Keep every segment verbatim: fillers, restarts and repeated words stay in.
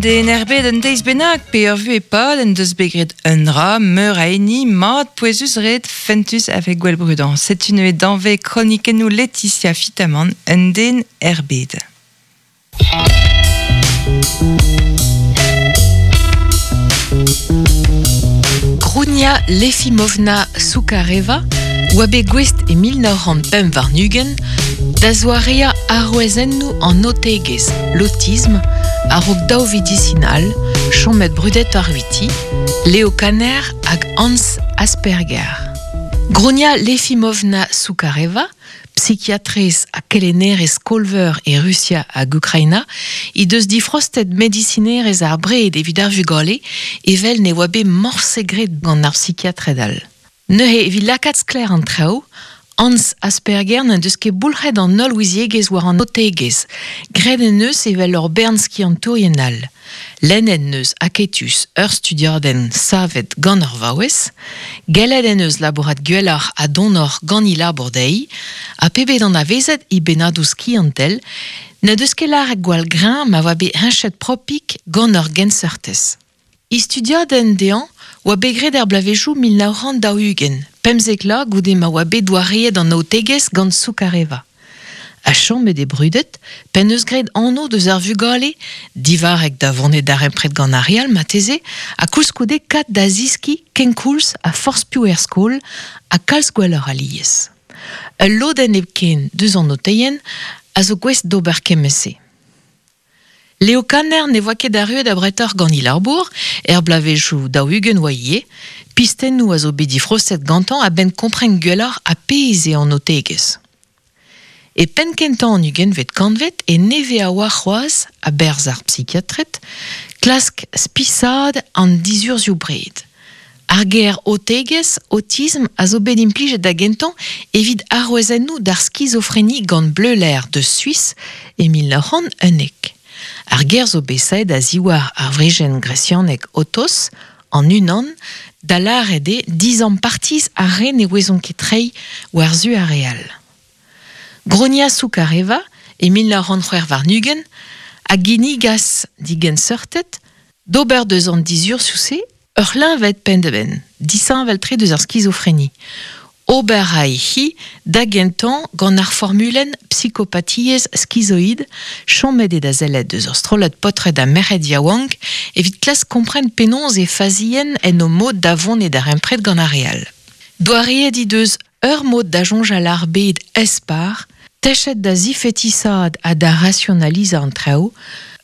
Den erbet un deiz bennak pe ur vu e pad en deus begret un dra, meur a eni, mat pouezus red fentus avec gwell brudan. Setu neue danve kronikennoù Laetitia Fitamant un den erbet. Grunia Lefimovna Soukareva oa bet gouest e mil nav c'hant pemp warn-ugent da zoarea arouezennoù an otegezh, l'autisme, a-raok daou vidisinal, chomet brudet ar huiti, Leo Kanner hag Hans Asperger. Grunia Lefimovna Soukareva, psychiatrez ha kelennerez skolveur e Rusia hag Ukraina, he deus difrostet medisinerez ar bred evit ar vugale evel ne oa bet morse graet gant ar psychiatred all. Neuze evit lakaat sklaer an traoù, Hans Asperger n'en deus ket boulc'het an holl ouiziegezh war an otegezh, graet en eus evel ur bern skiantourien all. Lennet en eus aketus ur studiadenn savet gant ur vaouez, gellet en eus labourat gwelloc'h ha donoc'h gant he labour dezhi, ha pebet anavezet he bennadoù skiantel, n'en deus ket lâret gwall greñv ma oa bet heñchet propik gant ur genseurtez. He studiadenn dezhañ oa bet graet er bloavezhioù mil nav c'hant daou-ugent, pemzek la goude ma oa bet doareet an aotegezh gant Soukareva. Ha chomet e brudet, p'en deus graet anv deus ar vugale, divarrek da vonet darempred gant ar re all marteze, ha koulskoude kat da ziskiñ kenkoulz ha forzh piv er skol ha kalz gwelloc'h alies. Ul lodenn hepken deus an oteien a zo gouest d'ober kement-se. Leo Kanner ne voa ket arruet abretoc'h gant he labour, er bloavezhioù daou-ugent oa ivez, pistennoù a zo bet difrostet gantañ a-benn kompren gwelloc'h ha pezh eo an otegezh. E penn kentañ an ugentvet kantved e nevez a oa c'hoazh a-berzh ar psychiatred, klask spisaat an dizurzhioù bred. Ar ger otegezh, autisme, a zo bet implijet da gentañ evit arouezennoù d'ar skizofreni gant Bleuler de Suisse e mil nav c'hant unnek. Ar ger zo bet saet a ziwar ar wrijenn gresianek otos, an unan, da lâret eo dizampartiz ar re ne ouezont ket treiñ war-zu ar re all. Grunia Soukareva, e mil nav c'hant c'hwec'h warn-ugent, a ginnigas digenseurtet d'ober deus an dizurzhioù-se ur c'hleñved penn-da-benn, disheñvel-tre deus ar skizofreni. Ober a hi da gentañ gant ar formulenn psychopathiezh schizoid, chomet eo da sellet deus ur strollad paotred ha merc'hed yaouank evit klask kompren penaos e fazien en o mod da vont e darempred gant ar re all. Doareet he deus ur mod da soñjal ar bed espar, techet da zifetisaat ha da rationalizañ an traoù,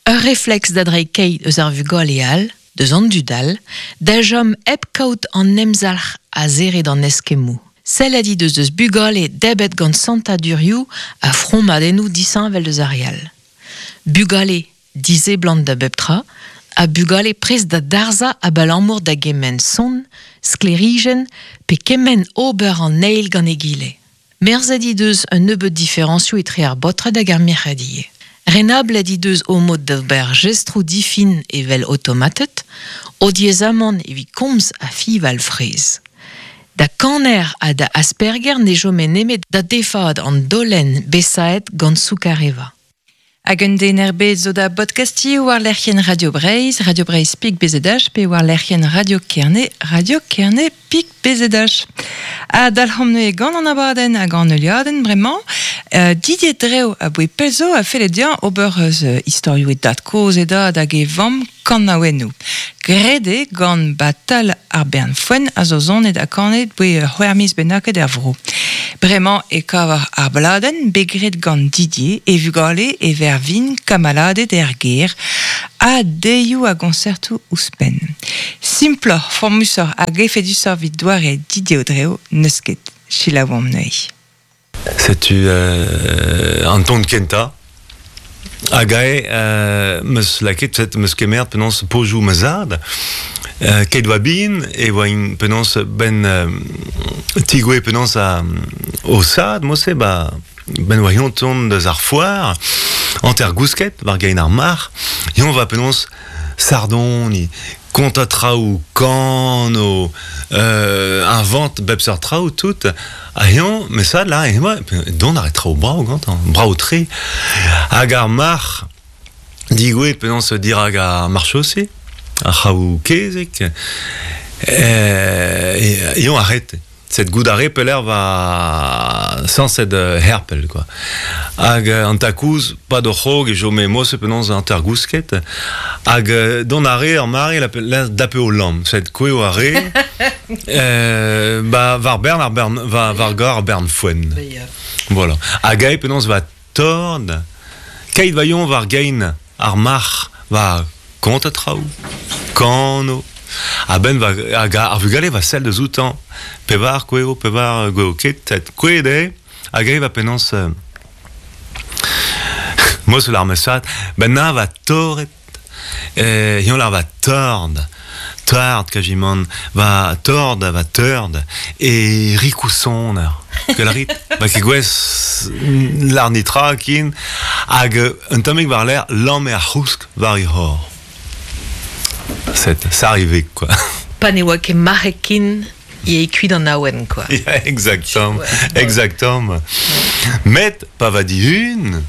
ur refleks da dreiñ keit eus ar vugale all, deus an dud all, da chom hep kaout an emzalc'h a zere d'an eskemmoù. Sellet he deus deus bugale debet gant santadurioù ha fromadennoù disheñvel deus ar re all. Bugale diseblant da bep tra, ha bugale prest da darzhañ abalamour da gement son, sklêrijenn pe kement ober an eil gant egile. Merzet he deus un nebeud diferañsioù etre ar baotred hag ar merc'hed ivez. Renablet he deus o mod d'ober jestroù difin evel automatet, o diaezamant evit komz ha fiñval fraezh. Da Kanner ha da Asperger ne chome nemet da defaat an dolenn besaet gant Soukareva. Hag un den erbet zo da podcasti war lec'hienn Radio Breizh, Radio Breizh pik B Z H, pe war lec'hienn Radio Kerne, Radio Kerne pik B Z H. Ha dalc'homp neuze gant an abadenn hag an heuliadenn bremañ, euh, Didier Dreo a boe pell zo a felle dezhañ ober eus istorioù e dad kozh e dad hag e vamm kanaouennoù. Graet eo gant Batal ar Bern Foenn a zo zonet ha kanet boe c'hwec'h miz bennaket er vro. Bremañ e kavar ar bladenn bet graet gant Didier e vugale e vervin kamaladed er gêr ha deioù a gonsertoù ouzhpenn. Simploc'h, formusoc'h hag efedusoc'h evit doare Didier Audréau n'eus ket. Selaouomp neuze. Setu euh, Anton Kenta. Hag ae, euh, meus laket, set meus kemert penaos pozioù ma zad, euh, ket oa bin, e oa in penaos ben euh, tigoe penaos a, o sad, mo-se, ba, ben oa yon ton deus ar foar, anter gousket, war gain ar mar, yon va penaos sardon, ni konta traoù, kano, euh, invente bep seurt traoù tout, ha yon, mais ça là, et moi, don ar traoù brao gantañ, brao tre. Hag ar mar, Digouet penaos dirag ar marchossi, ar c'haou kezek, euh, e, e arrête. Cette goudare peler va sans cette herpel quoi. Hag an takouz pa do c'hog e jome mose penaos an tergousket hag don are ar mare la la dape o lamm cette koueo are euh, ba var bern ar bern va var gar ar bern foen. Voilà. Hag ae penaos va tord keit vaillon var gein ar marc'h va kont a traoù kano A ben va hag ar vugale va sell deus outañ pevar koueo pevar gweo ket tet kouet eo hag eo va penaos euh, mos lar mesat ben na va torret euh, hion lar va tord tard kajimant va tord va tord e rikousoner que la rit va ket gwez lar nitra kin hag un tammig war l'air lamm ar c'housk war i hor. C'est ça arrivait quoi. Pa ne oa ket marc'h e kuit an awen quoi. Yeah, exactement. Ouais. Exactement. Ouais. Met pa va dihun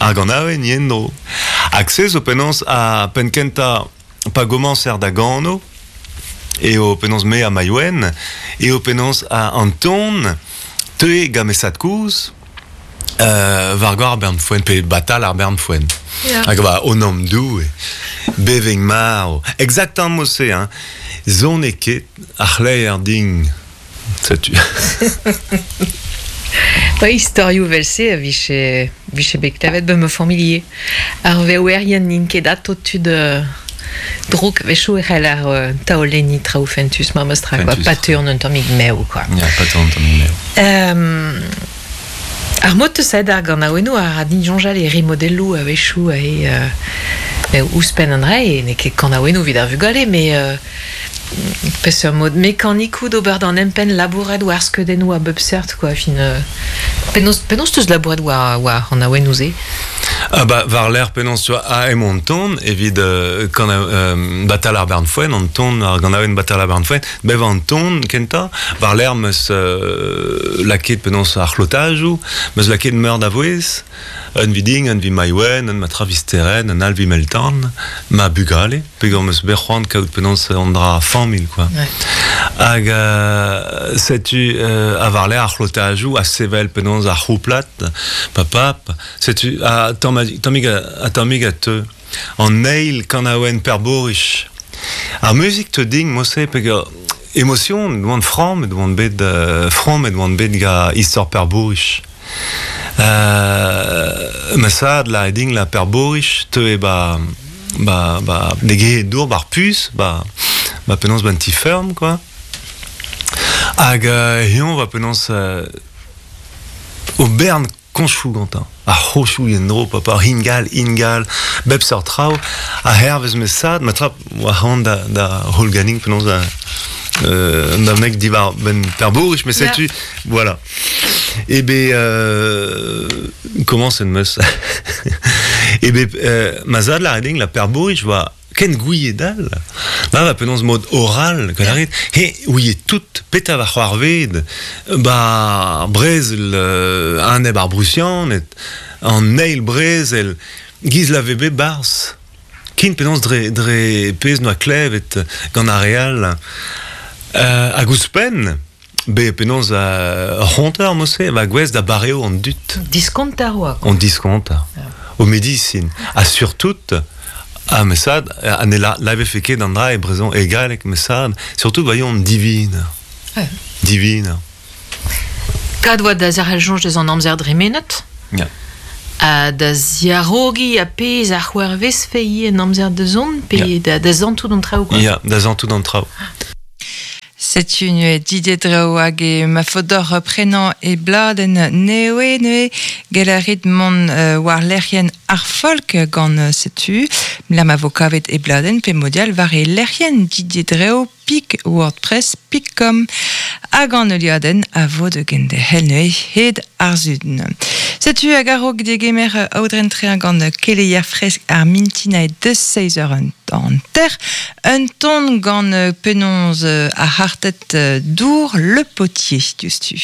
hag an awen yendro. Hag se zo penaos a penkenta pa gomañser da gano e o penaos me a maiouen e o penaos a Anton teue gamesat kouz euh, war goar ar bern foen pe batal ar bern foen. Yeah. Hag ba o nom dou beveng maro. Exactement se hein. Zon e ket ar c'hleier ding. Setu. Ba istorioù vel-se a viche, viche bet klevet ba ma familie. Ar veouerien n'int ket ato tud euh, drouk wechoù e c'hell ar euh, taolenni traoù fentus ma meus-tra quoi. Pateur un tammig mev quoi. Ya, pateur un tammig mev. Euh, ar mod teus aet ar ganaouennoù ar a din soñjal e rimodelloù a wechoù e euh, ouzhpenn an dra e n'eo ket kanaouennoù evit ar vugale mais euh, peseurt mod mekanikou d'ober d'an empenn labourat war skeudennoù a bep seurt quoi fin euh, penaos penaos teus labourat war war an aouennoù se. Ah bah war l'air penaos tu a em ton evit euh, kan euh, batal ar bern foen an ton ar ganaouenn batal ar bern foen bev an ton kenta war l'air meus euh, laket penaos ar c'hlotajoù meus laket meur da vouez un viding un vi maiouen un ma travisteren un alvi meltan ma bugale peogwir meus bet c'hoant kaout penaos an dra familh quoi. Ouais. Hag euh, setu euh, a war l'air ar c'hlotajoù a sevel penaos ar c'houplat papap setu a tammig a tammig a teu an eil kanaouenn perborich ar muzik te ding mose peogwir emotion doan framm doan bet euh, framm doan bet ga istor perborich euh, ma sad la ding la perborich teu e ba ba ba dege dour bar pus ba ba penaos ban ti ferm quoi hag euh, hion va penaos euh, o bern konchou gantañ a c'hochou yen-dro papa ingal ingal bep seurt traoù a hervez me sad ma trap oa c'hoant da, da holganing penaos da euh, da mek diwar ben perbourich mais setu yeah. Voilà e be euh, comment c'est meus e be euh, ma zad la reding la perbourich voa ken gouiet dal ba va penaos mod oral que la he ouiet tout peta va c'hoarved ba brezel euh, an eb ar brusian et an eil brezel giz la vebe barz kin penaos dre, dre pez noa klevet gant ar real euh, hag ouzhpenn be penaos a c'honter mose va gwez da bareo an dut diskontar oa on diskontar yeah. O medicine ha surtout ah mais ça an la la fait ket an dra e brezon e galleg mais ça surtout voyons divine. Ouais. Divine. Kad oa da zerc'hel soñj deus an amzer dremenet. Yeah. Ha da ziarogi a pezh ar c'hwervezfe ivez en amzer da zont pe Yeah. da, da zantout an traoù quoi. Ya, da zantout an traoù. Setu nue Didier Dreo hag e ma fodor prenañ e bladenn newe neue gelarit mont euh, war lec'hienn ar folk gant setu la ma vo kavet e bladenn pe modial war e lec'hienn Didier Dreo pik wordpress pik com hag an euliadenn a vo de gende hel neue hed ar zudn. Setu hag a-raok degemer aodren trean gant keleier fresk ar mintin a deus seiz eur an ter un ton gant penaos ar hartet dour le potier diouzhtu.